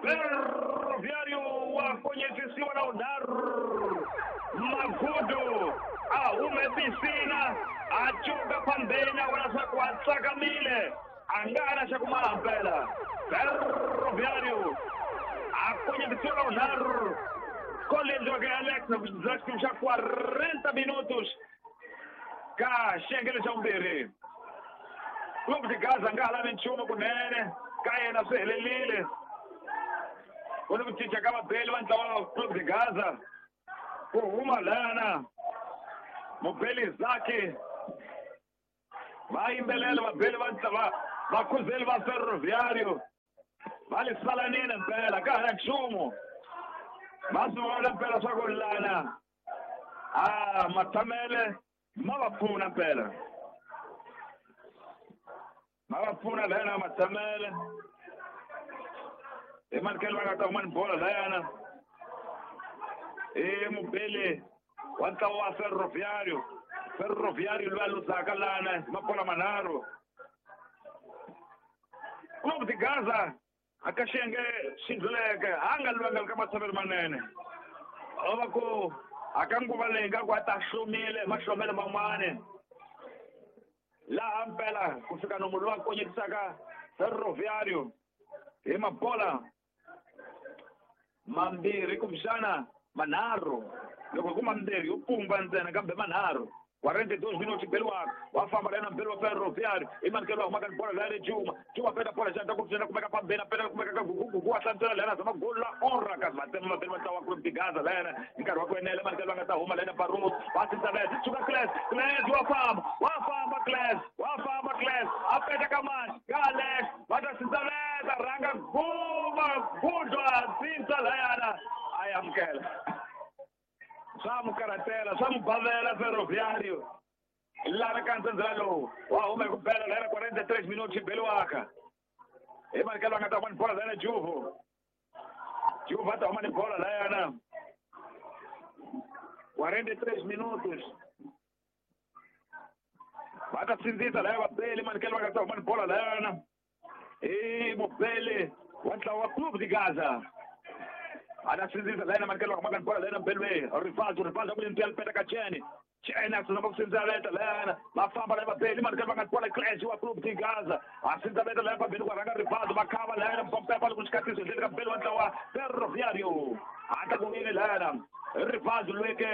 Ferroviário wa konyetisiwa na unharhu Magudu a hume piscina a cuka pambeni a vona swa ku a tsakamile a nga na xa ku maha mpela. Ferroviário a konyetisiwa na unharhu gol leyi endliweke Alex na xa 40 minutos ka xiyenge xa vumbirhi. Clube de Gaza nga ha lavi nchumu kunene ka yena swi helelile. Ku ni ku cinca ka vabeli va ntlawa wa Clube de Gaza ku huma lana mubeli Zaki va yimbelela vabeli va ntlawa vakhuzeli va Ferroviário va li salanini mpela ka ha na nchumu va swi vona mpela swa ku lana a matshamele ma va pfuna mpela ma va pfuna layana matshamele hi manikelo va nga ta huma ni bola layana i mubeli wa ntlawa wa Ferroviário. Ferroviário loyi a luzaka lana hi mabola manharhu. Clube de Gaza a ka xiyenge xi ndluleke a nga lwanga ka matshamelo manene o va ku a ka nguva leyi nga ku a ta hlomile hi mahlomelo man'wani laha mpela ku fika nomu lowu a konyetisaka Ferroviário hi mabola mambirhi kumbexana manharhu loko ku mambirhi yo pumba ntsena kambe manharhu 42 minutos beliwaka wa famba lena mbeli wa Ferroviário i manikelo wa humaka ni bola laya Juma Juma peta bola xandla ku pfuna kumeka pambeni peta kumeka ka gugugugu wa hlantswela lena zama gol la honra kasi vatsema vabeli va ntlawa wa Clube de Gaza lena hi nkarhi wa ku enela manikelo va nga ta huma lena Barros va sindzavela suka Cles Cles wa famba Cles wa famba Cles a peta ka mani ka Alex va ta sindzavela rhanga guma gudwa sindza layana a yi amukela swa mu karhatela swa mu bavela Ferroviário lana ka ntsendzela lowu wa huma hi ku bela lera 43 minutos xi beliwaka hi manikelo va nga ta huma ni bola layana Juvo Juvo a ta huma ni bola layana 43 minutos va ta sindzisa laya vabeli manikelo va nga ta huma ni bola layana i mubeli wa ntlawa wa Clube de Gaza ana sindzisa layena manikelo va humaka ni bola layena mbeli Rivaldo Rivaldo ku le peta ka Chene Chene a sungula ku sindzaveta layana va famba laya vabeli manikelo va nga bola Clash wa Clube de Gaza a sindzaveta laya pambeni ku rhanga Rivaldo va khava layana Mpompepa loko xikatiso endleni ka mbeli wa ntlawa Ferroviário a ta ku yini layana Rivaldo lweke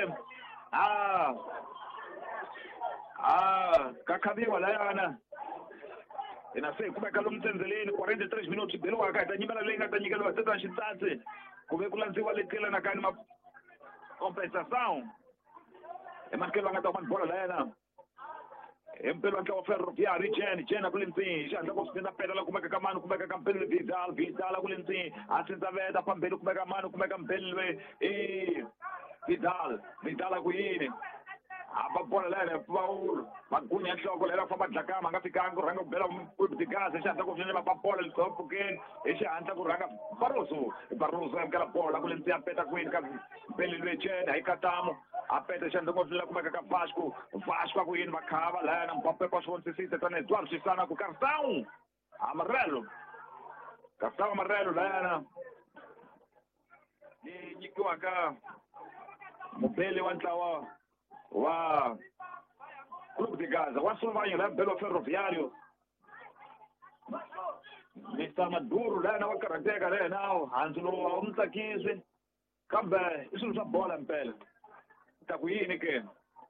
a ka khaviwa layana hina se hi kumeka lomu tsendzeleni 43 minutos beliwaka hi ta nyimela leyi nga ta nyikeliwa teta xitsatsi ku ve ku landziwa leti yelanaka ni ma compensação hi manikelo va nga ta huma ni bola layena hi mpelo wa ntlawa Ferroviário Jene Jene a ku le ndzeni xihatla ku sindza peta la kumeka ka mani kumeka ka mpeli Vidal Vidal a ku le ndzeni a sindzaveta pambeni kumeka mani kumeka mpeli loyi i Vidal Vidal a ku yini a ba bola layena Paulo magunya nhloko layena famba dlakama a nga fikanga ku rhanga ku bela Clube de Gaza xihatla ku swinene va ba bola mpfhukeni hi xihatla ku rhanga Barroso Barroso amukela bola ku le ndzeni a peta kwini ka mpeli loyi Jene hi katamu a peta xihatla ku swinene kumeka ka Vasco Vasco a ku yini va khava layena Mbappe pa swi vonisisile tanihi Eduardo Xisana ku cartão amarelo cartão amarelo layena ni nyikiwaka mubeli wa ntlawa wa Clube de Gaza wa Sulvanyo la mbeli wa Ferroviário Mr Maduro layena wa karhateka layena handzu lowu a wu mu tsakisi kambe i swilo swa bola mpela ta ku yini ke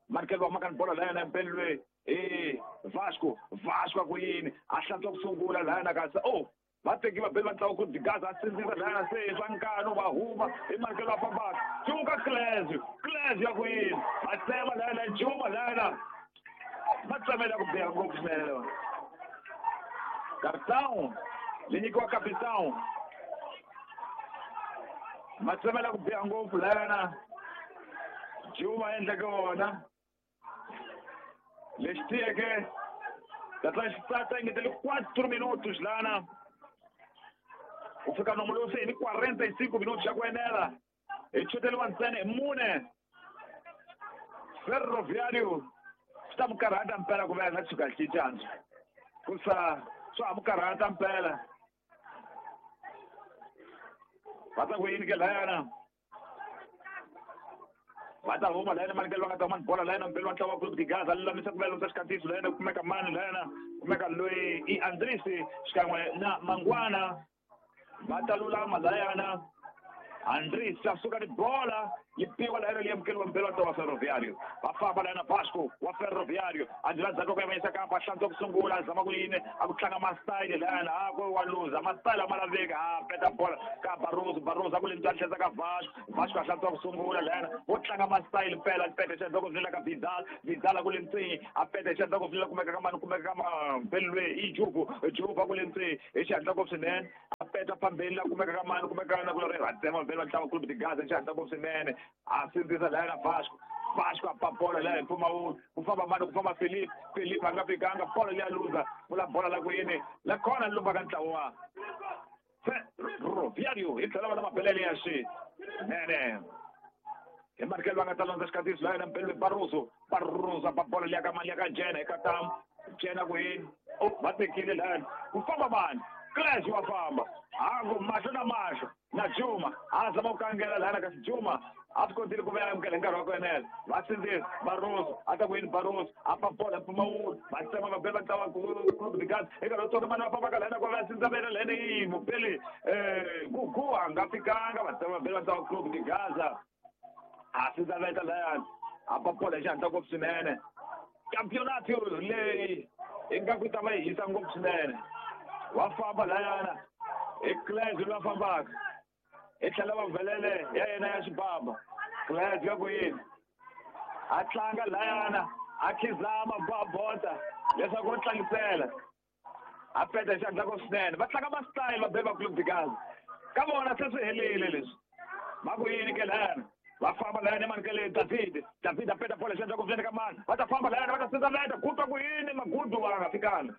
manikelo va humaka ni bola layena mpeli loyi i Vasco Vasco a ku yini a hlantswa ku sungula layena kasi oh va teki vabeli va ntlawa Clube de Gaza a sindzisa layena se swa nkanu va huma hi manikelo va fambaka cuka Cles Cles ya ku yini va tsema layena Juma layena va tsemela ku biha ngopfu swinene lewa cartão leyi nyikiwa capitão ma tsemela ku biha ngopfu layena Juma endleke wona lexi tiyeke tatla xitsatsa engetele 4 minutos lana ku fika nomu lowu se hi ni 45 minutos xa ku enela hi chuteriwa ntsena hi mune Ferroviário swi ta mu karhata mpela ku ve a nga tshuka cincandzo ku sa swa ha mu karhata mpela Va ta ku yini ke layana? Va ta huma layana manikelo va nga ta mani bola layana mbelo wa ntlawa wa Clube de Gaza lulamisa ku vela xikandziyiso layana kumeka mani layana kumeka loyi i Andrisi xikan'we na Mangwana va ta lulama layana Andrisi a suka ni bola yi piwa layana leyi amukeriwa mbelo wa ntlawa wa Ferroviário va famba layana Vasco wa Ferroviário a ndzi ndzhaku ku yavanyisa kampa hlantswa ku sungula a zama ku yini a ku tlanga masitayili layana a ku wa luza masitayili a ma laveki a peta bola ka Barroso Barroso a ku le ntswani tlhesa ka Vasco Vasco a hlantswa ku sungula layana wo tlanga masitayili mpela peta xandla ku vila ka Vidal Vidal a ku le ntsini a peta xandla ku vila kumeka ka mani kumeka ka mbelo loyi i Jubu Jubu a ku le ntsini hi xihatla ku swinene a peta phambeni la kumeka ka mani kumeka na ku ri Ratsema mbelo wa ntlawa Clube de Gaza hi xihatla ku swinene a sindzisa layana Vasco Vasco a pa bola leya hi mpfumawulo ku famba mani ku famba Felipe Felipe a nga fikanga bola leya luza vula bola la ku yini la khona lumba ka ntlawa wa Ferroviário hi tlhela va na mabelele ya xinene hi manikelo va nga ta landza xikandziyiso layana mpelo Barroso Barroso a pa bola leya ka mani ya ka Jena eka tam Jena ku yini va tekile layana ku famba mani Clash wa famba haku mahlo na mahlo na Juma a zama ku kangela lana kasi Juma a swi kotile ku va amukela hi nkarhi wa ku enela va sindzisa Barroso a ta ku yini Barroso a pa bola mpfumawulo va tsema va bela ntlawa Clube de Gaza eka loko tsonga mani va fambaka lana ku va sindza vela lana yi mupeli Gugu a nga fikanga va tsema va bela ntlawa Clube de Gaza a sindza veta layani a pa bola hi xihatla ngopfu swinene campeonato leyi ingaku yi ta va yi hisa ngopfu swinene wa famba layana hi Clash loyi a fambaka hi tlhela va velele ya yena ya xibaba Clash ya ku yini a tlanga layana a khizama babota leswaku u tlangisela a peta hi xihatla ku swinene va tlanga masitayili va beba Clube de Gaza ka vona se swi helile leswi va ku yini ke layana va famba layana emanikele David David a peta bola xihatla ku swinene ka mani va ta famba layana va ta sindza veta ku twa ku yini magudu va nga fikanga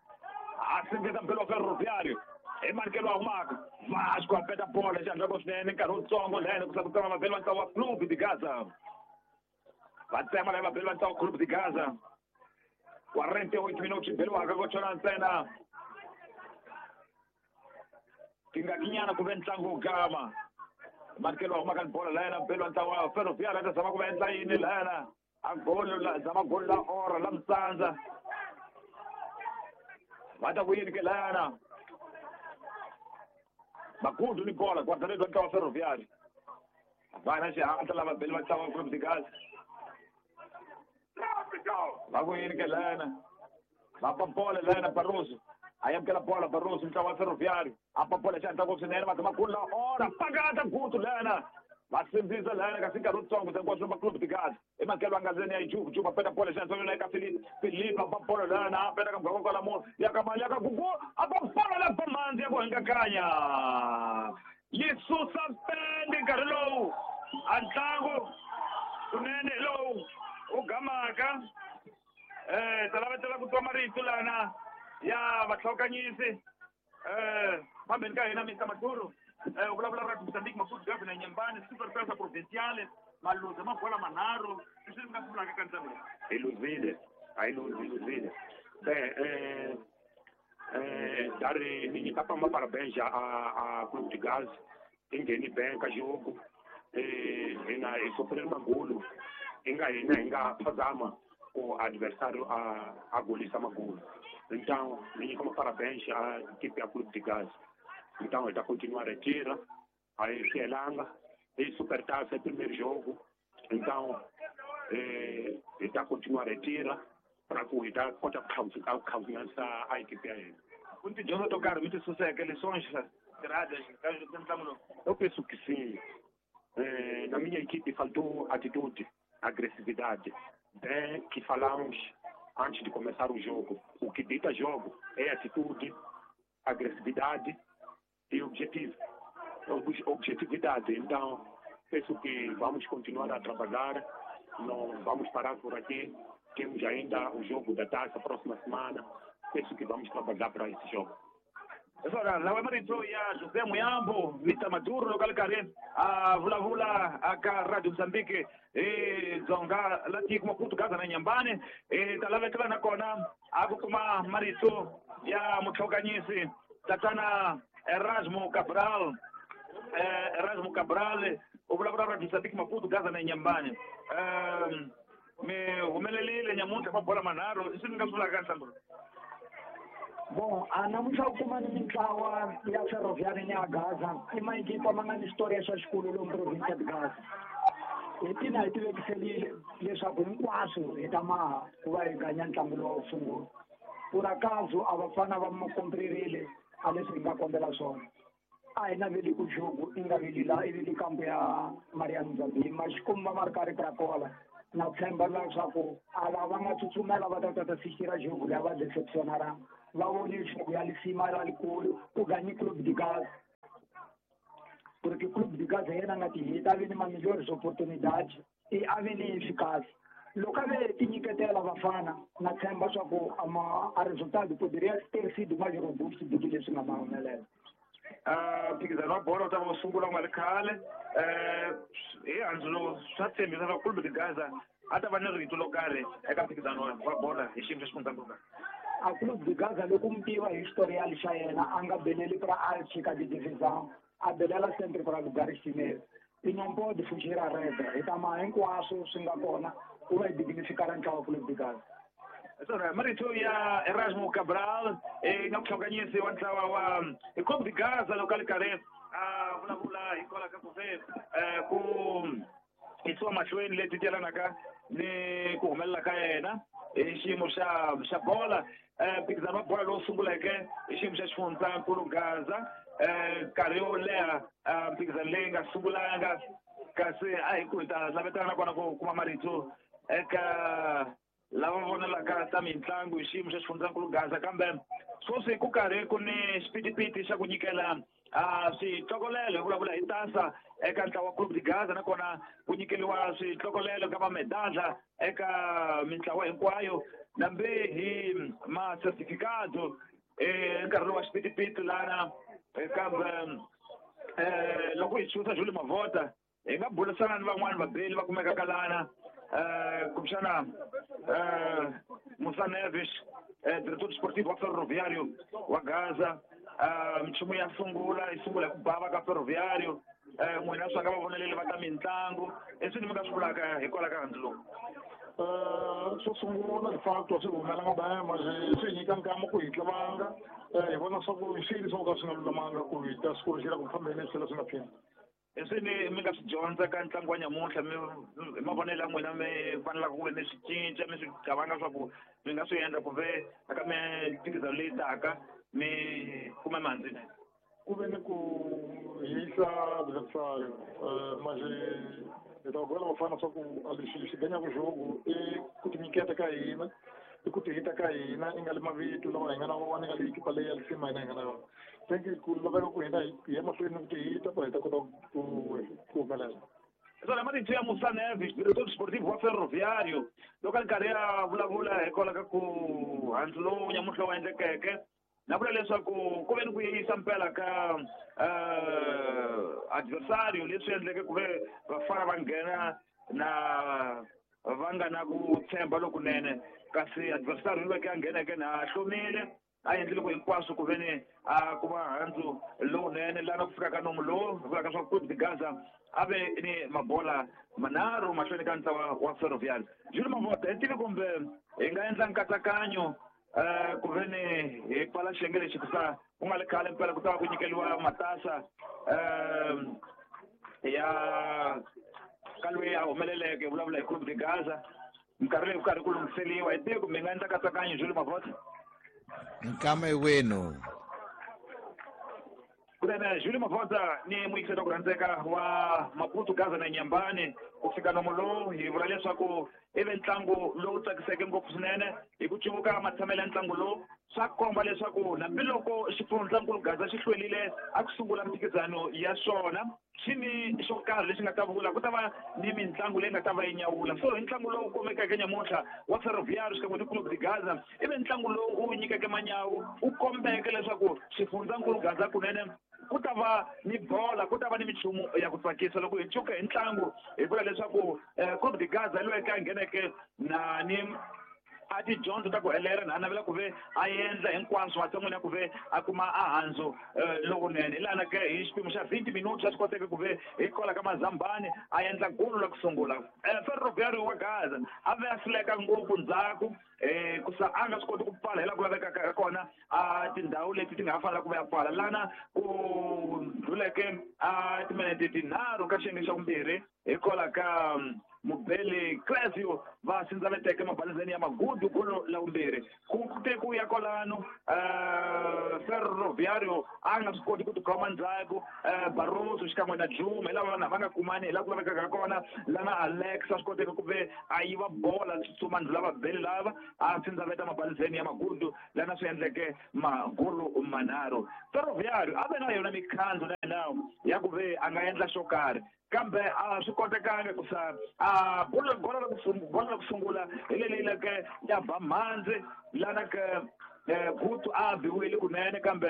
a sindzisa mbelo wa Ferroviário hi manikelo wa humaka Vasco a peta bola xihatla ku swinene nkarhi wutsongo layana ku sa ku tsema vabeli va ntlawa wa Clube de Gaza va tsema laya vabeli va ntlawa wa Clube de Gaza 48 minutos beliwaka ko chona ntsena tingakinyana ku ve ntlangu wu gama manikelo wa humaka ni bola layana mbelo wa ntlawa wa Ferroviário a ta zama ku va endla yini layana a golo la zama golo la ora la mtsandza va ta ku yini ke layana Magudu ni bola guarda-redes wa ntlawa wa Ferroviário va na xihatla lava beli va ntlawa wa Clube de Gaza va ku yini ke layana va pa bola layana Barroso a amukela bola Barroso ntlawa wa Ferroviário a pa bola xihatla ngopfu swinene va zama golo la ora pakata gutu layana va sindzisa layana kasi nkarhi wutsongo se hinkwaswo va Clube de Gaza emanikelo a nga ndzeni ya Jubu Jubu a peta bola xihatla eka Felipe Felipe a pa bola layana a peta ka muganga kwala munhu ya ka mali ya ka Gugu a pa bola la bomandzi ya ku hingakanya yi susa pende nkarhi lowu a ntlangu kunene lowu u gamaka ta lavetela ku twa marito lana ya vahlokanyisi phambeni ka hina Mr Maduro u vulavula ra Mozambique Maputo Governor Nyembani Super Tasa Provinciale maluza mabola manharhu leswi mi nga swi vulaka ka ntlangu lowu hi luzile a hi luzi hi luzile bem dar ni nyika pa parabéns a Clube de Gaza i ngheni bem ka jogo hina hi sofrele magolo hi nga hina hi nga phazama ku adversário a golisa magolo então ni nyika parabéns a equipe ya Clube de Gaza então hi ta continuar retira a hi swi helanga i Supertaça é primeiro jogo então hi ta continuar retira para ku hi ta kota ku khansisa a equipe ya hina ku ni tidyondzo to karhi mi ti suseke lições tiradas ka ntlangu lowu eu penso que sim. Na minha equipe faltou atitude, agressividade. Bem que falamos antes de começar o jogo. O que dita jogo é atitude, agressividade e objetivo. Objetividade. Então, penso que vamos continuar a trabalhar, não vamos parar por aqui. Temos ainda o jogo da taça próxima semana. Penso que vamos trabalhar para esse jogo. Sora lawa marito ya José Muyambo Mr Maduro loko a ri karhi a vulavula aka Radio Mozambique hi Dzonga la tiko Maputo Gaza na Nyembani hi ta lavetela nakona a ku kuma marito ya mutlhokanyisi tatana Erasmo Cabral Erasmo Cabral u vulavula ra Mozambique Maputo Gaza na Inhambane mi humelelile nyamuntlha mabola manharhu i swi ni nga swi vulaka ka ntlangu lowu. Bon, a namuntlha u kuma ni mintlawa ya Ferroviário ni ya Gaza i maekipa ma nga ni xitoriya xa xikolo lomu province ya Gaza. Hi tina hi tivekiselile leswaku hinkwaswo hi ta maha ku va hi ganya ntlangu lowu wo sungula. Por acaso a vafana va komprerile a leswi hi nga kombela swona. A hi naveli ku jogo i nga veli la ivi kampo ya Mariano Zabim ma xikomba ma ri karhi krakola. Na tshemba leswaku a lava nga tsutsumela va ta ta fikira jogo leyi va deceptionara va vone jogo ya lisima la likulu ku ganyi Clube de Gaza. Porque Clube de Gaza yena nga tihita a ve ni ma-melhores oportunidades e a ve ni eficaz. Loko a ve tinyiketela vafana na tshemba swa ku a resultado poderia ter sido mais robusto do que leswi nga ma humelela. Mphikizano wa bolo wu ta va wu sungula ku nga ri khale hi handzu lowu swa tshembisa swa Clube de Gaza a ta va ni rito lo karhi eka mphikizano wa bola hi xiyimo xa xifundzankulu. A Clube de Gaza loko mi tiva historial xa yena a nga beleli pra Alchika de divisão a belela sempre pra lugares primeiros. E não pode fugir à regra. Hi ta ma hinkwaswo swi nga kona ku va hi dignificar ntlawa wa Clube de Gaza. Swona marito ya Erasmo Cabral nga muhlanganyisi wa ntlawa wa Clube de Gaza loko a ri karhi a vulavula hikwalaho ka ku ve ku yisiwa mahlweni leti yelanaka ni ku humelela ka yena hi xiyimo xa bola. Mphikizano wa bola lowu sunguleke hi xiyimo xa xifundzankulu Gaza nkarhi wo leha mphikizano leyi nga sungulanga kasi a hi ku hi ta lavetana nakona ku kuma marito eka lava vonelaka ta mitlangu hi xiyimo xa xifundzankulu Gaza kambe sweswi ku karhi ku ni xipitipiti xa ku nyikela switlokolelo hi vulavula hi tasa eka ntlawa wa Clube de Gaza nakona ku nyikeriwa switlokolelo ka mamedadla eka mintlawa hinkwayo nambe hi ma-certificado nkarhi lowu wa xipitipiti lana kambe loko hi chusa Julie Mavota hi nga burisana ni van'wani vabeli va kumekaka lana kumbexana Musa Neves diretor desportivo wa Ferroviário wa Gaza minchumu ya sungula yi sungula hi ku bava ka Ferroviário n'wina swa nga va voneleli va ta mitlangu i swi ni mi nga swi vulaka hikwalaho ka handzu lowu. Xo sungula de facto swi humelanga baya mas swi hi nyika nkama ku hi tlavanga hi vona swa ku swilo swo ka swi nga lulamanga ku hi ta swi kurixela ku fambeni swi tlhela swi nga phini. I swi ni mi nga swi dyondza ka ntlangu wa nyamuntlha mi hi mavonelo ya n'wina mi fanelaka ku ve mi swi cinca mi swi cabanga swa ku mi nga swi endla ku ve eka mimphikizano leyi taka mi kuma mihandzu yinene. Ku ve ni ku hisa adversario mas hi ta byela vafana swa ku lexi xi ganyaka jogo i ku tinyiketa ka hina i ku tihita ka hina i nga le mavito lawa hi nga na wona i nga le ekipa leyi ya lisima hina hi nga na yona. Thank you ku laveka ku hina hi ya mahlweni ni ku tihita ku hi ta kota ku humelela. Swona marito ya Musa Neves diretor desportivo wa Ferroviário loko a ri karhi a vulavula hikwalaho ka ku handzu lowu nyamuntlha wu endlekeke na vula leswaku ku ve ni ku yeyisa mpela ka adversario leswi endleke ku ve vafana va nghena na va nga na ku tshemba lokunene kasi adversario loyi a ngheneke na hlomile a endlile ku hinkwaswo ku ve ni a kuma handzu lowunene lana ku fika ka nomu lowu vulaka swa Clube de Gaza a ve ni mabola manharhu mahlweni ka ntlawa wa Ferroviário. Julie Mavota hi tivi kumbe hi nga endla nkatsakanyo ku ve ni hi pfala xiyenge lexi ku sa ku nga ri khale mpela ku ta va ku nyikeriwa matasa ya ka loyi a humeleleke hi vulavula hi Clube de Gaza minkarhi leyi ku karhi ku lunghiseriwa hi tivi kumbe hi nga endla nkatsakanyo Julie Mavota. Nkama wenu. Kunene Julie Mavota ni muyingiseri wa ku rhandzeka wa Maputo Gaza na Inhambane ku fika nomu lowu hi vula leswaku i ve ntlangu lowu tsakiseke ngopfu swinene hi ku cuvuka matshamelo ya ntlangu lowu swa komba leswaku hambiloko xifundzankulu Gaza xi hlwerile a ku sungula mphikizano ya swona xi ni xo karhi lexi nga ta vula ku ta va ni mitlangu leyi nga ta va yi nyawula. So hi ntlangu lowu kumekeke nyamuntlha wa Ferroviário xikan'we ni Clube de Gaza i ve ntlangu lowu wu nyikeke manyawu wu kombeke leswaku xifundzankulu Gaza kunene ku ta va ni bola ku ta va ni minchumu ya ku tsakisa loko hi cuka hi ntlangu hi vula leswaku Clube de Gaza loyi a ngheneke na ni a tidyondzo ta ku helela na a navela ku ve a endla hinkwaswo matshan'wini ya ku ve a kuma a handzu lowunene. Hi lana ke hi xipimo xa 20 minutes a swi koteke ku ve hi kwala ka Mazambani a endla golo la ku sungula. Ferroviário wa Gaza a ve a hluleka ngopfu ndzhaku, ku sa a nga swi koti ku pfala hi laha ku lavekaka ka kona a tindhawu leti ti nga ha fanela ku va ya pfala. Lana ku ndluleke a timinete tinharhu ka xiyenge xa vumbirhi hi kwala ka Mubeli Clesio va sindzaveteke mabalizeni ya Magudu golo la vumbirhi. Ku te ku ya kwalano, Ferroviário a nga swi koti ku tikhoma ndzhaku, Barroso xikan'we na Juma hi lava vanhu va nga kumani hi laha ku lavekaka kona. Lana Alex a swi koteka ku ve a yiva bola tsutsuma ndlula vabeli lava a sindzaveta mabalizeni ya Magudu, lana swi endleke magolo manharhu. Ferroviário a ve na yona mikhandzu na yena ya ku ve a nga endla xo karhi, kambe a swi kotekanga ku sa a golo la ku sungula hi leli leke ya ba mhandzi lana ke Gutu a biwile kunene, kambe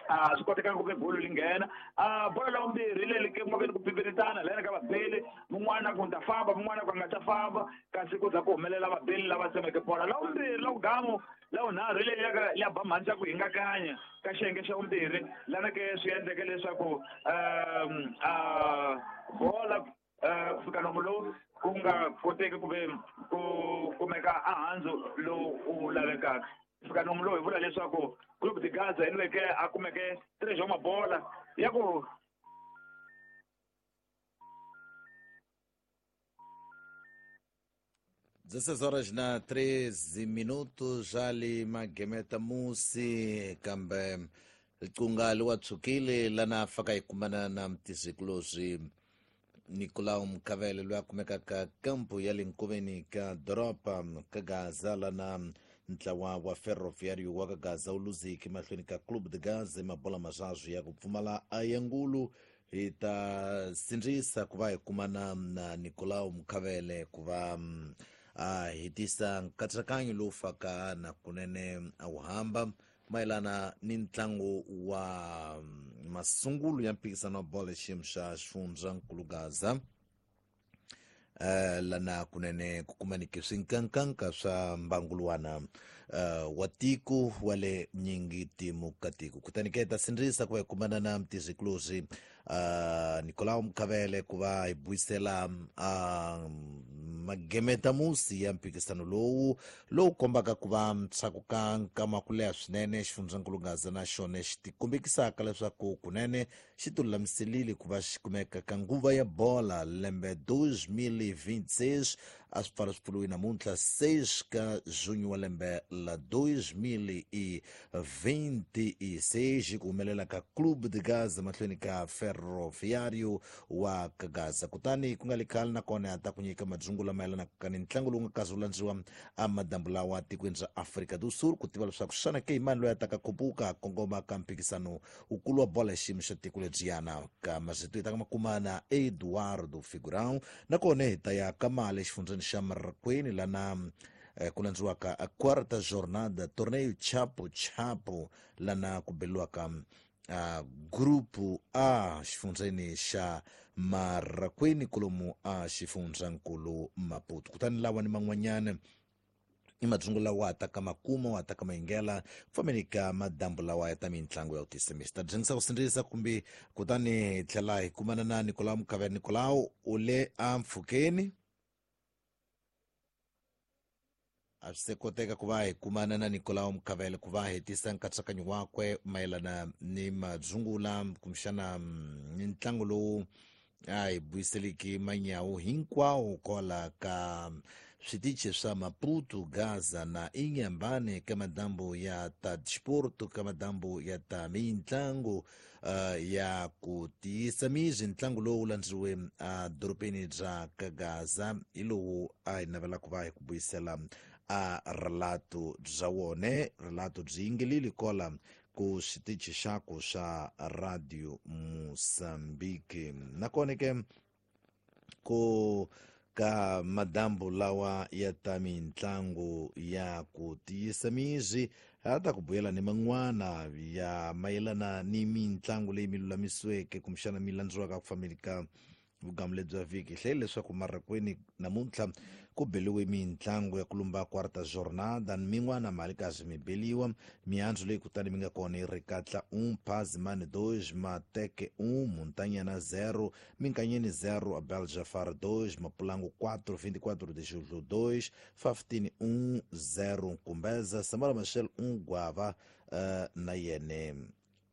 a swi kotekanga ku ve golo li nghena. A bolo la vumbirhi leli ke ku nga ku pipiritana lana ka vabeli, mun'wana ku ta famba mun'wana ku nga ta famba, kasi ku za ku humelela vabeli lava tsemeke bola. La vumbirhi la vugamu la vunharhu leli ya ba mhandzi ya ku hingakanya ka xiyenge xa vumbirhi, lana ke swi endleke leswaku bola ku fika nomu lowu ku nga koteki ku ve ku kumeka a handzu lowu wu lavekaka. Ku fika nomu lowu hi vula leswaku Clube de Gaza hi lweke a kumeke 3 wa mabola ya ku 16 horas na 13 minutos ali magemeta musi kambe licunga liwatsukile lana faka ikumana na mtizikulozi Nicolau Mkavele loyi a kumekaka kampu ya le nkoveni ka doroba ka Gaza, lana ntlawa wa Ferroviário wa ka Gaza wu luziki mahlweni ka Clube de Gaza mabola mazazwu ya ku pfumala ayangulu. Hi ta sindzisa ku va hi kumana na Nicolau Mkavele ku va a hetisa nkatsakanyo lowu faka na kunene a wu hamba mayelana ni ntlangu wa masungulo ya mphikizano wa bolo xiyimo xa xifundzankulu Gaza, lana kunene ku kumaniki swinkankanka swa mbanguluwana wa tiko wa le nyingitimu ka tiko. Kutani ke ta sindzisa ku va hi kumana na mtizikuluzi Nicolau Mkavele ku va hi buyisela magemeta musi ya mphikizano lowu kombaka ku va ntshaku ka nkama ku leha swinene xifundzankulu Gaza na xona xi tikombekisaka leswaku kunene xi tilulamiselile ku va xi kumeka ka nguva ya bola lembe 2026. A swi pfala swi pfuriwe namuntlha 6 ka junho wa lembe la 2026 ku humelela ka Clube de Gaza mahlweni ka Ferroviário wa ka Gaza. Kutani ku nga li khale nakona ta ku nyika madzungu lama yelanaka ni ntlangu lowu nga kazi wu landziwa a madambu lawa tikweni ra Afrika do Sul, ku tiva leswaku xana ke imani loyi a taka khupuka kongoma ka mphikizano wukulu wa bola ya xiyimo xa tiko lebyiyana. Ka mazito hi ta ka makuma na Eduardo Figurão, nakona hi ta ya ka mali exifundzeni xa Marraqueni lana ku landziwaka a quarta jornada torneio Chapo Chapo, lana ku beliwaka grupo A xifundzeni xa Marraqueni kolomu a xifundzankulu Maputo. Kutani lawa ni man'wanyana i madzungu lawa ta ka makuma wa ta ka mayingela ku fambeni ka madambu lawa ya ta mintlangu ya ku tisa misi. Ta dyengisa ku sindzisa kumbe kutani hi tlhela hi kumana na Nicolau Mkavele. Nicolau u le a mpfhukeni, a swi se koteka ku va hi kumana na Nicolau Mkavele ku va hetisa nkatsakanyo wakwe mayelana ni madzungula kumbexana ni ntlangu lowu a hi buyiseliki manyawu hinkwawo kwala ka switichi swa Maputo, Gaza na Inhambane ka madambu ya ta disporto, ka madambu ya ta mintlangu ya ku tiyisa mizi. Ntlangu lowu landziwe a dorobeni bya ka Gaza hi lowu a hi navela ku va hi ku buyisela a relato bya wone. Relato byi yingelile kola ku xitichi xaku xa Radio Mozambique. Nakona ke ku ka madambu lawa ya ta mintlangu ya ku tiyisa mizi a ta ku buyela ni man'wana ya mayelana ni mintlangu leyi mi lulamisiweke kumbexana mi landziwaka ku fambeni ka Vugamu lebyi bya vhiki hi hlayile leswaku marakweni namuntlha ku beliwe mintlangu ya ku lumba quarta jornada min'wana mali kasi mi beliwa mihandzu leyi kutani mi nga kona yi ri katla 1 Pazimani 2 Mateke 1 Muntanyana 0 Minkanyeni 0 Abel Jafar 2 Mapulangu 4 24 de Julho 2 Faftini 1 0 Nkumbeza Samora Machel 1 Guava na yene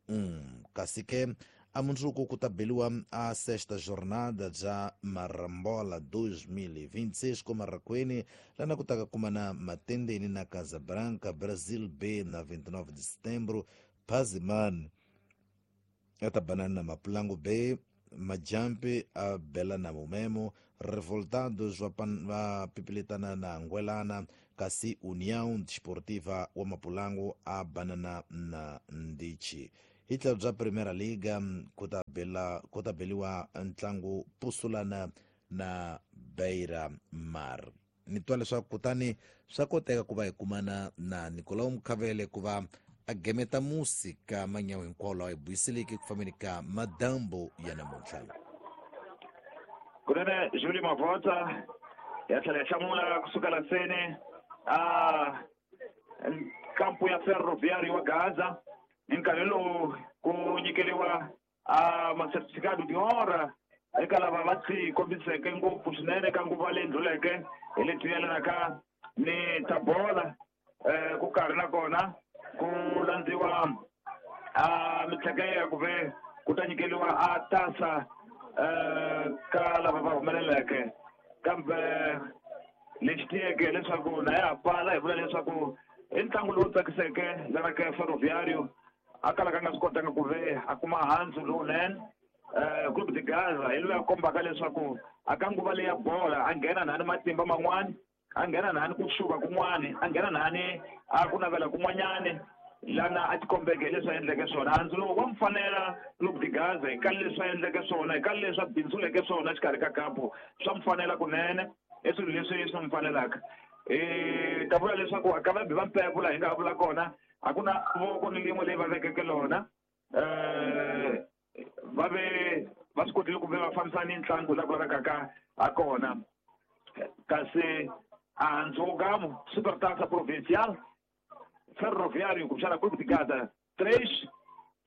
1 kasi ke amundzuku ku ta beliwa a sexta jornada bya Marambola 2026 ko Marakweni lana ku taka kumana Matendeni na Casablanca Brazil B na 29 de setembro Pazimani a ta banana na Mapulangu B Majampi a bela na Mumemo Revoltados va pipiletana na Ngwelana kasi União Desportiva wa Mapulangu a banana na Ndichi. Hi tlhelo bya Primera Liga ku ta beliwa ntlangu Pusulana na Beira Mar. Ni twa leswaku kutani swa koteka ku va hi kumana na Nicolau Mkhavele ku va a gemeta musi ka manyawu hinkwawo lawa hi buyiseleke ku fambeni ka madambo ya namuntlha. Kunene Julie Mavota ya tlhela ya hlamula kusukela seni a kampu ya Ferroviário wa Gaza hi nkarhi lowu ku nyikeriwa a masertifikado de honra eka lava va ti kombiseke ngopfu swinene ka nguva leyi ndluleke hi leti yelanaka ni ta bola ku karhi nakona ku landziwa a mintlheke ya ku ve ku ta nyikeriwa a tasa ka lava va humeleleke kambe lexi tiyeke leswaku na ya pfala hi vula leswaku i ntlangu lowu tsakiseke lana ka Ferroviário a kalaka a nga swi kotanga ku ve a kuma handzu lowunene Clube de Gaza hi loyi a kombaka leswaku a ka nguva leya bola a nghena nhani matimba man'wani a nghena nhani ku xuva kun'wani a nghena nhani a ku navela kun'wanyani lana a tikombeke leswi a endleke swona handzu lowu wa mfanela Clube de Gaza hi ka leswi a endleke swona hi ka leswi a bindzuleke swona exikarhi ka kampu swa mfanela kunene i swilo leswi swi n'wi fanelaka ta vula leswaku a ka vabi va mpepula hi nga vula kona a ku na voko ni rin'we leyi va vekeke lona va ve va swi kotile ku ve va fambisa ni ntlangu la ku lavekaka ha kona kasi a Ndzogamo Supertaça Provincial Ferroviário kumbexana Clube de Gaza 3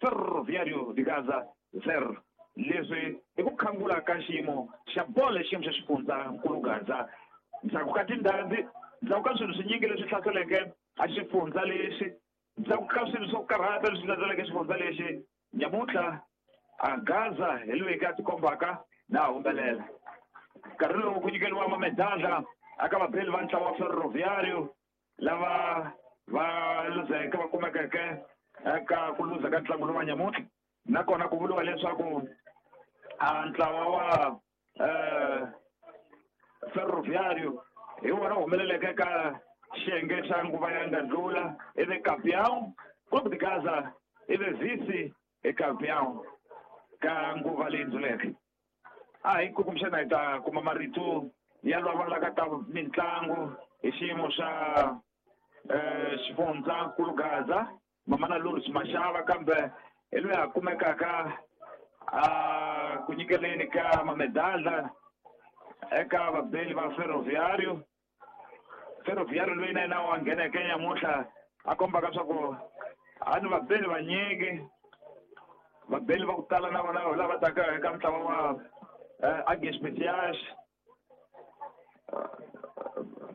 Ferroviário de Gaza 0 leswi i ku khangula ka xiyimo xa bolo xiyimo xa xifundzankulu Gaza ndzhaku ka tindhambi ndzhaku ka swilo swinyingi leswi hlaseleke a xifundza lexi ndzhaku ka swilo swo karhata leswi hlaseleke xifundza lexi nyamuntlha a Gaza hi loyi ka tikombaka na humelela nkarhi lowu ku nyikeriwa mamedala aka vabeli va ntlawa wa Ferroviário lava va luzeke va kumekeke eka ku luza ka ntlangu lowa nyamuntlha nakona ku vuriwa leswaku a ntlawa wa Ferroviário hi wona humeleleke ka xiyenge xa nguva ya nga ndlula ivi campeão Clube de Gaza ivi vice e campeão ka nguva leyi ndluleke a hi kumbexana hi ta kuma marito ya lava ka ta mintlangu hi xiyimo xa xifundzankulu Gaza Mamana Lourdes Mashava kambe hi loyi a kumekaka a ku nyikeleni ka mamedala eka vabeli va Ferroviário Ferroviário loyi na yena wa ngheneke nyamuntlha a kombaka swa ku a ni vabeli vanyingi vabeli va ku tala na vona lava taka eka ntlawa wa Águias Especiais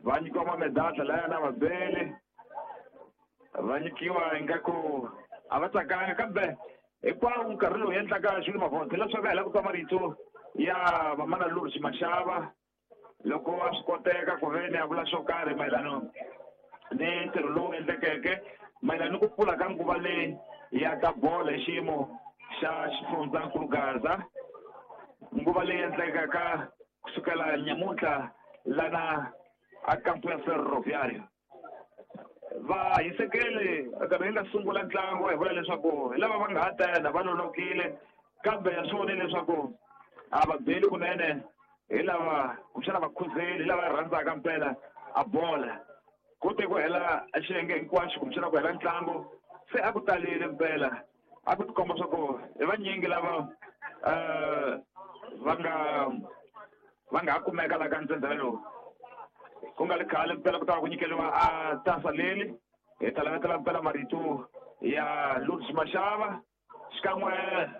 va nyikiwa mamedala laya na vabeli va nyikiwa ingaku a va tsakanga kambe hinkwawo nkarhi lowu endlaka Jules Mavonde leswaku hi lava ku twa marito ya Mamana Lourdes Mashava loko a swi koteka ku ve ni a vula swo karhi mayelana ni ntirho lowu endlekeke mayelana ni ku pfula ka nguva leyi ya ka bolo hi xiyimo xa xifundzankulu Gaza nguva leyi endlekaka kusukela nyamuntlha lana a kampu ya Ferroviário va hisekele nkarhi yi nga sungula ntlangu hi vula leswaku hi lava va nga ha tena va lolokile kambe ya swi vone leswaku a va beli kunene hi lava kumbexana vakhuzeli hi lava rhandzaka mpela a bola ku te ku hela xiyenge hinkwaxo kumbexana ku hela ntlangu se a ku talile mpela a ku tikomba swa ku hi vanyingi lava va nga kumeka la ka ntsendzela lowu ku nga ri khale mpela ku ta va ku nyikeriwa a tasa leli hi ta lavetela mpela marito ya Lourdes Mashava xikan'we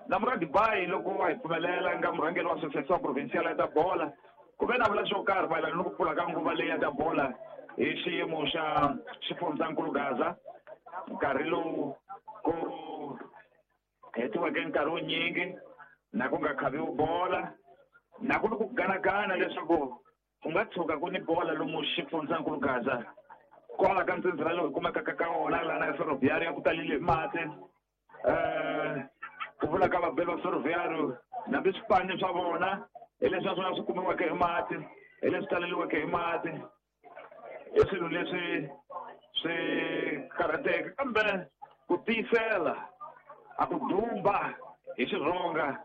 na Muradi Bayi loko a hi pfumelela nga murhangeri wa Association Provincial ya ta bola ku ve na vula xo karhi mayelana ni ku pfula ka nguva leyi ya ta bola hi xiyimo xa xifundzankulu Gaza nkarhi lowu ku hetiweke nkarhi wo nyingi na ku nga khaviwi bola na ku ni ku ganagana leswaku ku nga tshuka ku ni bola lomu xifundzankulu Gaza kwala ka ntsendzela lowu hi kumekaka ka wona lana ya Ferroviário ya ku talile hi mati ku vula ka vabeli va Ferroviário nambi swipani swa vona hi leswi naswona swi kumiweke hi mati hi leswi taleliweke hi mati i swilo leswi swi karhateke kambe ku tiyisela a ku dumba hi xirhonga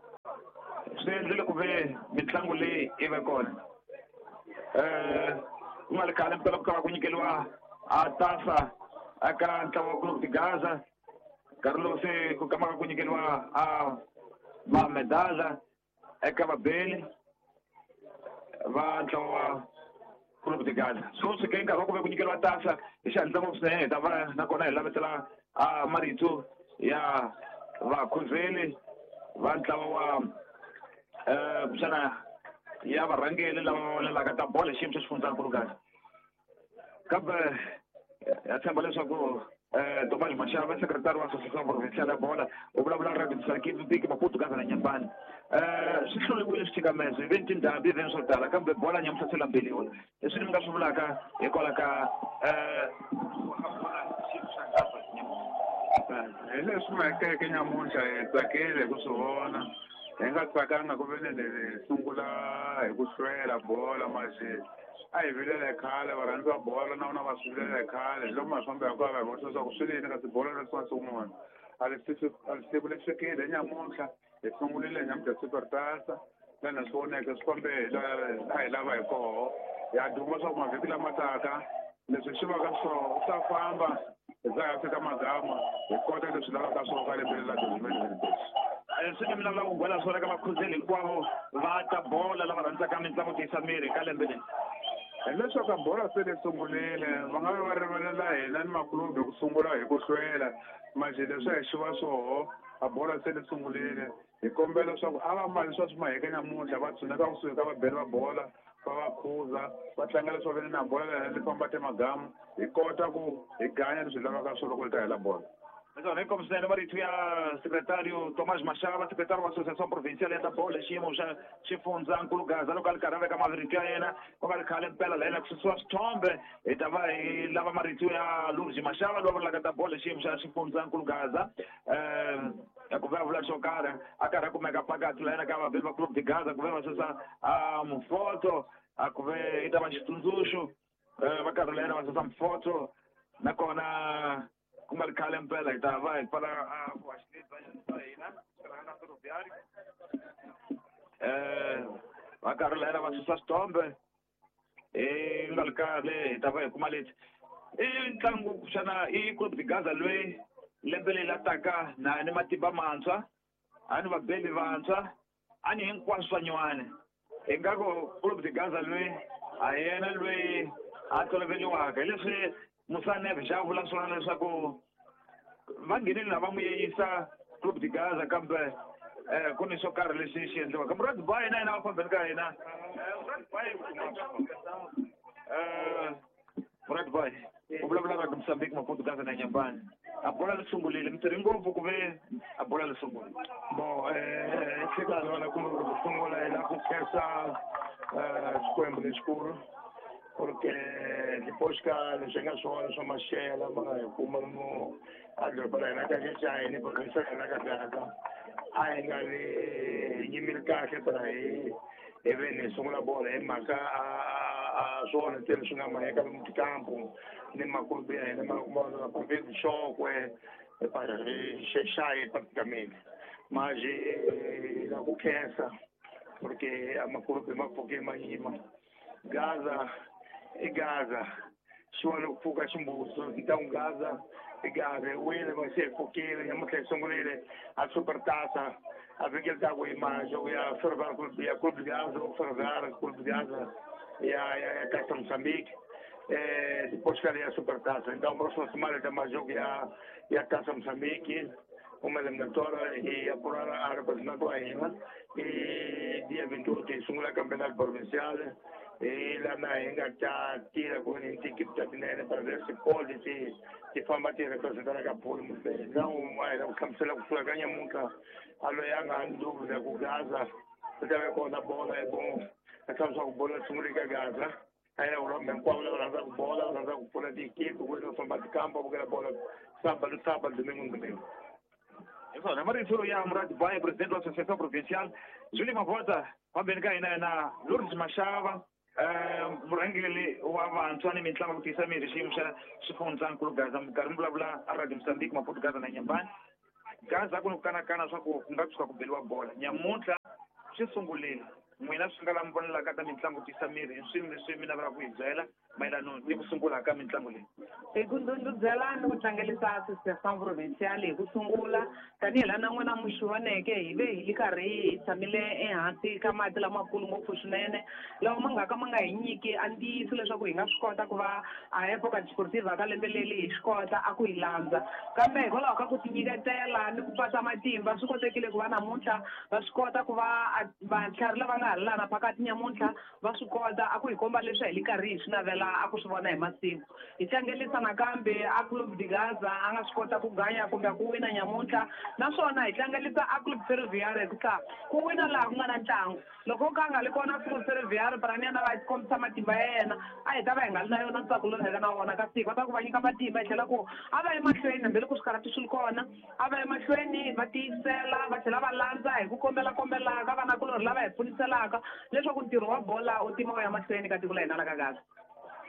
swi endlile ku ve mitlangu leyi yi ve kona ku nga ri khale mpela ku ta va ku nyikeriwa a tasa eka ntlawa wa Clube de Gaza nkarhi lowu se ku kamaka ku nyikeriwa a mamedala eka vabeli va ntlawa wa Clube de Gaza so swi ke nkarhi wa ku ve ku nyikeriwa tasa hi xihatla ngopfu swinene hi ta va nakona hi lavetela a marito ya vakhuzeli va ntlawa wa kumbexana ya varhangeri lava vonelaka ta bola hi xiyimo xa xifundzankulu Gaza kambe ya tshemba leswaku Tomás Mashava secretary wa Association Provincial ya bola u vulavula Radio Mozambique Maputo Gaza na Nyambani swi hluriwile swithikamezo hi ve ni tindhambi hi ve ni swo tala kambe bola nyamuhla se lambeliwa leswi ni mi nga swi vulaka hikwalaho ka hi leswi mahekeke nyamuntlha hi tsakile hi ku swi vona hi nga tsakanga ku ve ni hi sungula hi ku hlwela bola manje a hi vilele khale varhandzi va bola na vona va swi vilele khale hi loko mafambo hinkwawo va hi vonisa leswaku swi lini kasi bola leswi nga sungula a siku li fikile hi nyamuntlha hi sungurile nyamuntlha Supertasa lana swi voneke swi fambe a hi lava hi koho ya duma swa ku mavhiki lama taka leswi swi vaka swoho swi ta famba hi za hi fika magama hi kota leswi lavaka swona ka lembe la 2026 swi ni mina lava ku gwela swona ka vakhuzeli hinkwavo va ta bola lava rhandzaka mitlangu tiyisa miri ka lembe leri hileswaku bola se li sungurile va nga va rivalela hina ni makulubi ku sungula hi ku hlwela manje leswi a hi xiva swoho a bola se li sungurile hi kombela leswaku a va mali swa swi maheke nyamuntlha va tshuneka kusuhi ka vabeli va bola va va khuza va tlanga leswi va vene na bola lena li famba timagamu hi kota ku hi ganya leswi hi lavaka swona loko li ta hela bola Naswona inkomu swinene marito ya secretario Tomás Mashava secretario wa Associação Provincial ya ta bola xiyimo xa xifundzankulu Gaza loko a ri karhi a veka marito ya yena ku nga ri khale mpela la yena ku susiwa swithombe hi ta va hi lava marito ya Lourdes Mashava loyi a vulaka ta bola xiyimo xa xifundzankulu Gaza ku ve a vula xo karhi a karhi a kumeka phakathi la yena ka vabeli va Clube de Gaza ku ve va susa mufoto a ku ve yi ta va xitsundzuxo va karhi la yena va susa mufoto nakona ku nga ri khale mpela hi ta va hi pfala vuhaxi bya hina na Ferroviário va karhi la yena va susa swithombe hi nga ri khale hi ta va hi kuma leti i ntlangu xana i Clube de Gaza loyi lembe leri la taka na ni matimba mantshwa a ni vabeli vantshwa a ni hinkwaswo swa nyuwani hi nga ku Clube de Gaza loyi a yena loyi a toloveliwaka hi leswi Musa Neves a vula swona leswaku va nghenile na va n'wi yeyisa Clube de Gaza kambe ku ni swo karhi leswi xi endliwaka Murad Bayi na yena va fambeni ka hina Murad Bayi Murad Bayi u vulavula Radio Mozambique Maputo Gaza na Nyambani a bola li sungurile mi tirhi ngopfu ku ve a bola li sungula bon hlekani vana ku sungula hi la ku khensa Xikwembu lexikulu porque depois ka leswi nga swona swa maxela ma nga hi kuma mo a doroba la hina ka Xaxani province ya hina ka Gaza a hi nga vi hi yimile kahle para hi ve ni sungula bola hi mhaka a swona ntsena swi nga maheka lomu tikampu ni makulubi ya hina ma province Xokwe Xexayi praticamente mas la ku khensa porque a makulubi ma pfuke ma yima Gaza i Gaza xi ku pfuka ximbuso ntangu Gaza i Gaza hi wile ma se hi pfukile nyamuntlha hi sungurile a Supertasa A vhiki ri taku hi jogo ya Ferroviário ya Clube de Gaza ou Ferroviário Clube de Gaza ya Taça Moçambique, depois ficaria a Supertaça. Então, próxima semana tem mais jogo ya Taça Moçambique, uma eliminatória e apurar a representante ainda. E dia 28 sungula campeonato provincial e lá na ainda tá tira com a equipe da tinene para ver se pode se fama te representar a Capul. Então, o campeonato que ganha muito a loyanga dúvida com Gaza, porque com a bola é bom. A campeonato bola sungula Gaza. Aí o homem qual é a bola, a bola de equipe, o fama de campo, porque a bola sábado, sábado, domingo, domingo. Isso, Marito ya Murad Baia, presidente da Associação Provincial, Júlio Mavota, vambenika hina na Lourdes Mashava, murhangeri wa vantshwa ni mitlangu ku tiyisa mirhi xiyimo xa xifundzankulu Gaza, minkarhi mi vulavula a Radio Mozambique, Maputo, Gaza na Nyambani. Gaza ku ni ku kanakana swa ku nga tshuka ku beliwa bola. Nyamuntlha swi sungulile. N'wina swi nga la mi vonelaka ta mitlangu tiyisa mirhi hi swilo leswi mi navelaka ku hi byela mayelana ni ku sungula ka mitlangu leyi. Hi ku ndhundhuzela ni ku tlangelisa Associação Provincial hi ku sungula tanihi laha na n'wina mi swi voneke hi ve hi li karhi hi tshamile ehansi ka mati lamakulu ngopfu swinene lawa ma nga ka ma nga hi nyiki a ntiyiso leswaku hi nga swi kota ku va a Epoca Desportiva ka lembe leri hi swi kota a ku hi landza, kambe hikwalaho ka ku tinyiketela ni ku patsa matimba swi kotekile ku va namuntlha va swi kota ku va vatlhari lava nga ha lana phakathi nyamuntlha va swi kota a ku hi komba leswi hi li karhi hi swi navela a ku swi vona hi masiku. Hi tlangelisa nakambe a Clube de Gaza a nga swi kota ku ganya kumbe ku wina nyamuntlha, naswona hi tlangelisa a Clube Ferroviário hikuva ku wina laha ku nga na ntlangu. Loko ka nga li kona Clube Ferroviário Praniana va kombisa matimba ya yena a hi ta va hi nga li na yona ntsako lowu hi nga na wona kasi hi kota ku va nyika matimba hi tlhela ku a va emahlweni hambiloko swikarhati swi ri kona, a va emahlweni va tiyisela va tlhela va landza hi ku kombela kombelaka vanakulorhi lava hi pfuniselaka leswaku ntirho wa bola wu tima wu ya mahlweni ka tiko la hina la ka Gaza.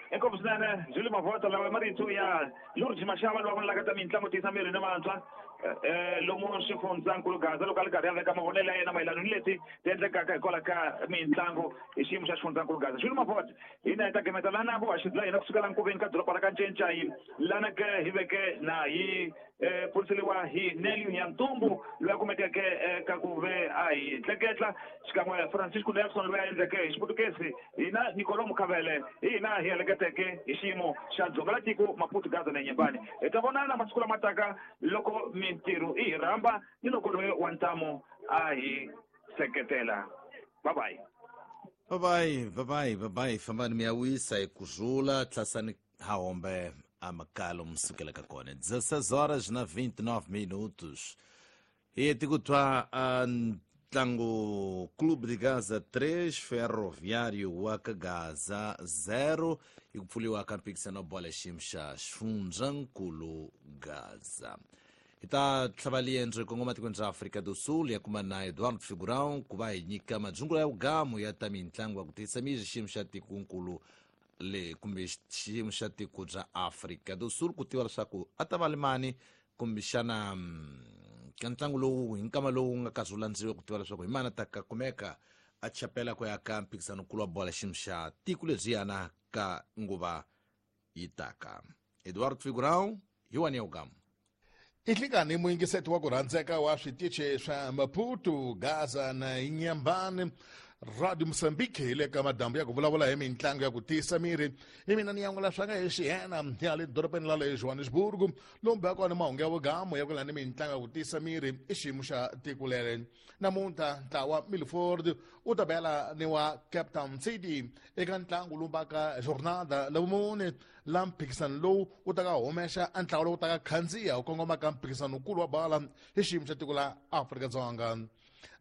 Inkomu swinene Júlio Mavota, lawa marito ya Lourdes Mashava lowa vonelaka ta mitlangu tiyisa mirhi ni vantshwa lomu xifundzankulu Gaza loko a ri karhi a veka mavonelo ya yena mayelana ni leti ti endlekaka hikwalaho ka mitlangu hi xiyimo xa xifundzankulu Gaza. Júlio Mavota, hina hi ta gemeta lana vuhaxi bya hina kusukela nkoveni ka doroba ra ka Ncencai lana ke hi veke na hi pfuriseliwa hi Nelly Nyantumbu loyi a kumekeke ka ku ve a hi tleketla xikan'we Francisco Nelson loyi a endleke hi xiputukezi, hina Nicolo Mukhavele hina hi heleketeke hi xiyimo xa dzonga la tiko Maputo, Gaza na Nyembani. Hi ta vonana masiku lama taka loko mintirho i hi rhamba ni loko loyi wa ntamu a hi seketela. Bye bye. Bye bye, bye bye, bye bye. Fambani mi ya wisa hi kurhula, tlasani hahombe amakalo msukela ka kona. 16 horas na 29 minutos. E tikutwa ntlangu Clube de Gaza 3, Ferroviário wa ka Gaza 0 e ku pfuliwa ka mphikizano wa bola xiyimo xa xifundzankulu Gaza. Hi ta tlhava liendzo hi kongoma tikweni ra Afrika do Sul ya kuma na Eduardo Figurão ku va hi nyika madzungula ya vugamu ya ta mitlangu ya ku tiyisa miri xiyimo xa tikonkulu le kumbe xiyimo xa tiko bya Afrika do Sul ku tiva leswaku a ta va limani kumbexana ka ntlangu lowu hi nkama lowu nga kazi wu landziwe ku tiva leswaku hi mani a ta ka kumeka a chapela ku ya ka mphikizanokulu wa bola xiyimo xa tiko lebyiyana ka nguva yi taka. Eduardo Figurão hi wani ya vugamu. Ihlikani muyingiseti wa ku rhandzeka wa switichi swa Maputo, Gaza na Inhambane, Radio Mozambique hi le ka madambu ya ku vulavula hi mitlangu ya ku tiyisa miri. Hi mina ni yan'wela swa nga hi xiyena ya le dorobeni la le Johannesburg, lomu bya kona mahungu ya vugamu ya ku lani mitlangu ya ku tiyisa miri i xiyimo xa tiko leri. Namuntlha ntlawa Milford wu ta bela ni wa Cape Town City eka ntlangu lowu vaka jornada la vumune la mphikizano lowu wu ta ka humesa a ntlawa lowu ta ka khandziya wu kongoma ka mphikizanokulu wa bala hi xiyimo xa tiko la Afrika-Dzonga.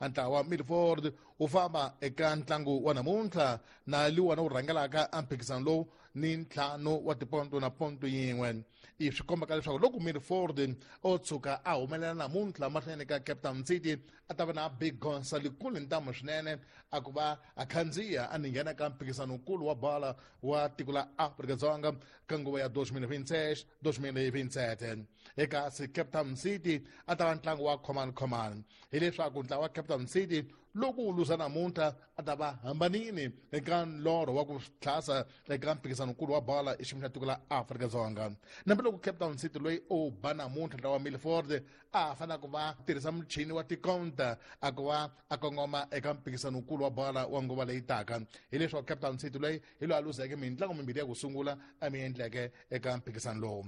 Ntlawa Milford wu famba eka ntlangu wa namuntlha na liwana wu rhangelaka a mphikizano lowu ni ntlhanu wa tiponto na ponto yin'we. I swi kombaka leswaku loko Milford o tshuka a humelela namuntlha mahlweni ka Cape Town City a ta va na big gonsa likulu ntamu swinene a ku va a khandziya a ni nghena ka mphikizanokulu wa bala wa tiko la Afrika-Dzonga ka nguva ya 2026 2027. Eka si Cape Town City a ta va ntlangu wa khomani khomani, hileswaku ntlawa wa Cape Town City Loko wu luza namuntlha a ta va hambanini eka nlorho wa ku tlhasa eka mphikizanokulu wa bola exiyimo xa tiko la Afrika-Dzonga. Nambiloko Cape Town City loyi o ba namuntlha ntlawa wa Milford a ha fanele ku va tirhisa muchini wa tikonta a ku va a kongoma eka mphikizanokulu wa bola wa nguva leyi taka, hileswaku Cape Town City loyi hi loyi a luzeke mintlango mimbirhi ya ku sungula a mi endleke eka mphikizano lowu.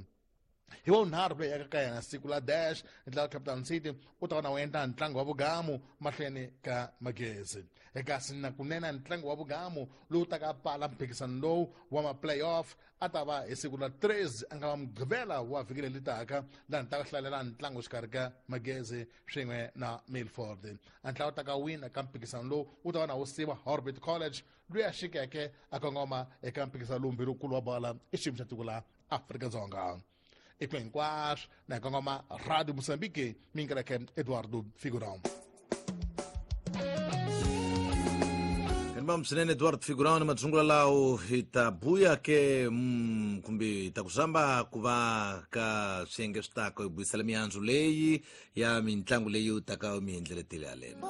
Hi wa vunharhu loyi eka ka yena siku la dash ntlawa Cape Town City u ta va na wu endla ntlangu wa vugamu mahlweni ka Magezi. Kasi na kunene ntlangu wa vugamu lowu taka pfala mphikizano lowu wa ma-playoff a ta va hi siku la 3, a nga va Mugqivela wa vhiki leri taka, laha ni ta hlalela ntlangu xikarhi ka Magezi swin'we na Milford. A ntlawa ta ka wina ka mphikizano lowu wu ta va na wu siva Orbit College loyi a xikeke a kongoma eka mphikizano lowu mbirhi wa bola i xiyimo xa tiko la Afrika-Dzonga. I ku hinkwaswo na hi kongoma Radio Mozambique, mingeleke Eduardo Figurão. Vam swinene Eduardo Figurão ni madzungula lawo. Hi ta buya ke kumbe hi ta ku zamba ku va ka swiyenge swi taka hi buyisela mihandzu leyi ya mitlangu leyi u taka mi endleletile yaleno.